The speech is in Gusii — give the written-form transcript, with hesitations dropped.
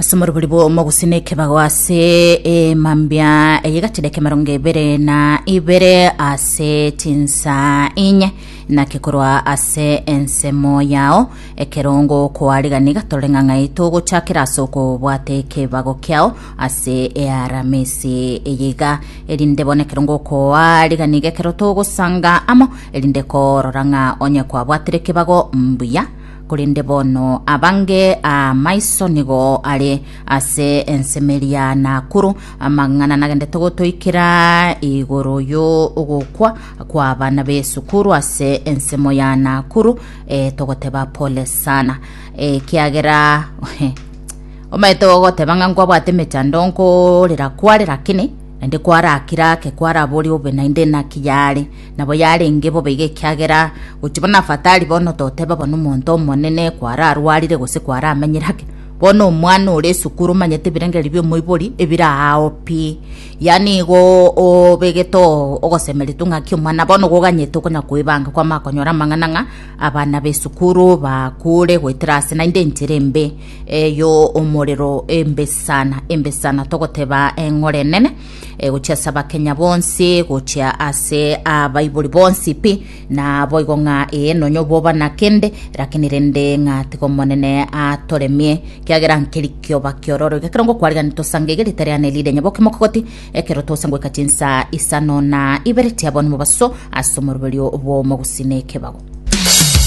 Ase omorobori bw'omogusii na ekebago ase emambia eye gachire emerongo ebere na ibere ase chinsa inye naki korwa ase ensemo yao ekerongo koarigani gatore ng'a ng'ai togochakera ase okobwata ekebago kiao ase earamisi eye iga erinde bono ekerongo koarigani iga ekero togosanga amo erinde korora ng'a onye kwabwatire ekebago mbuya Korende bono abange amaiso nigo are ase ensemo ya Nakuru, amang'ana nagendete gotoikera igoro y'ogokwa kw'abana b'esukuru ase ensemo ya Nakuru, eh, togoteba pole sana ekiagera omanyete ogoteba ng'a nkwabwate emechando nkorera kware lakini naende kwarakire ake kwaraboria obe naende naki yare. Nabo yarenge bobe iga ekiagera gochia bono afatari bono toteba bono omonto omonene kwararwarire gose kwaramenyire ake, bono omwana ore esukuru omanyete ebirengererio bia omoibori ebire aao pi. Yaani igo obegete oo ogosemeria tu ng'aki omwana bono goganyete okonya koebanga kwamanya konyora amang'ana ng'a abana ba esukuru bakure goetera ase naende enchera embe eyo omorero embe sana embe sana togoteba eng'ora enene. eh, gochia ase abakenya bonsi gochia ase abaibori bonsi pi na boigo ng'a ee nonya oboba na kende lakini rende ng'a tiga omonene atoremie kiagera nkeri kioba kiororo iga ekero ngokwarigani tosange iga ritari ane rire nyaboke mokogoti ekero tosa goika chinsa isano na ibere chia bono mobaso ase omoroberio bw'omogusii na ekebago.